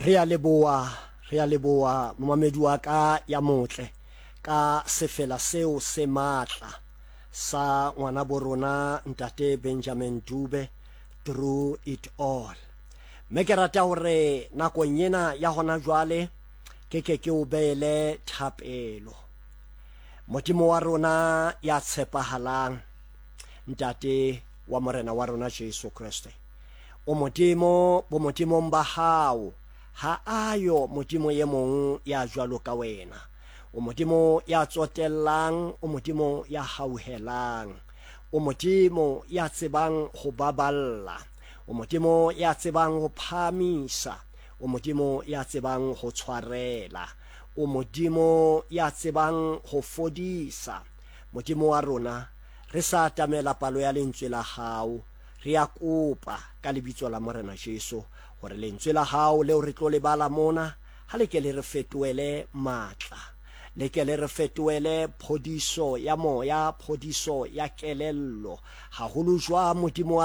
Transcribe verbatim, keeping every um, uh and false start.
Re a leboha, re a leboha momamedi wa ka ya motle ka sefela seo se matla sa ngwana bo rona ntate Benjamin Dube, Through It All. Mme ke rata hore nakong ena ya hona jwale ke ke ke o beele thapelo. Modimo wa rona ya tshepahalang, ntate wa morena wa rona Jesu Kriste, o Modimo bo modimong ba hao, ha ayo Modimo ye mong ya jwalo ka wena. O Modimo ya tsotellang, o Modimo ya hauhelang, o Modimo ya tsebang ho baballa, o Modimo ya tsebang ho phahamisa, o Modimo ya tsebang ho tshwarela, o Modimo ya tsebang ho fodisa. Modimo wa rona, re sa atamela palo ya lentswe la hao, re a kopa ka lebitso la Morena Jesu hore lentswe la hao leo re tlo le bala mona ha le ke le re fetohele matla, le ke le re fetohele phodiso ya moya, phodiso ya kelello, haholo jwa Modimo wa